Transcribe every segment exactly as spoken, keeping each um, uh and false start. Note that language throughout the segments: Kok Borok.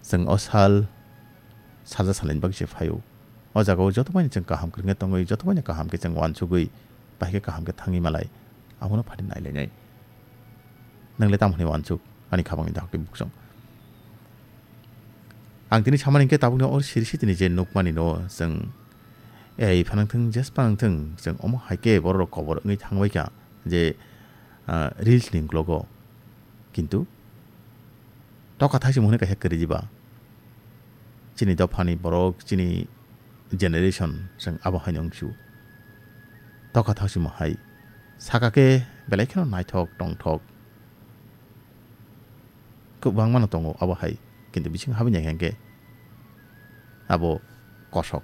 Chwng o sal salsa salni bagwi se phaio. O jagao joto bai chwng kaham kwrwngwi tongwi, joto bai kaham khe chwng uansugwi, bahai khe kaham khe thangwi malai, abono phari nailainai. Nwngle tamo hwnwi uansuk, ani khabangni dakhuk tei buksong. Ang tini samani hwnkhe tabukno o siri sitini je nukmani no chwng ei phanang thung, jes phanang thung, chwng omo hai khe borok rok kobor wngwi thangbai kha je, ah, reels ni uklogo. Kintu tokha thaisimo hwnwi kaisa kwrwi diba? Chini dophani borok, chini generation, chwng abo haino wngsu. Tokha thaisimo hai saka khe belai kheno naithok tongthok. Kwbangmano tongo abo hai, kintu bising habini hai khe abo kosok.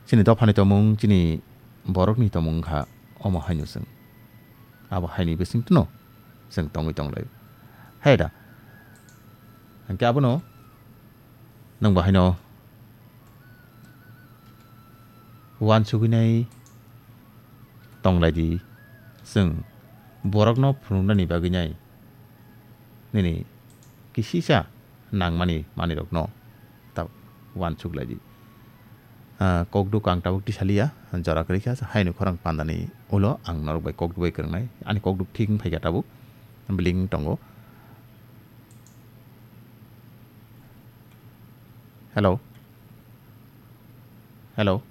Chini dophani tongmung, chini borokni tongmung wngkha omo haino chwng. Abo haini bisingtwno chwng tongwi tonglaio. Hai da. Hwnkhe abono nwng bo haino uansugwinai tonglaidi, chwng borokno phunuknani bagwinai nini kisisa nangmani manwirokno ta uansuk laidi. Ah, kokduk ang tabuk tisaliya, jora kwrwi kha, haino khorang pandani ulo ang norok bai kokduk bai kwrwngnai, ani kokduk thik wng phaikha tabuk, bling tongo. Hello? Hello?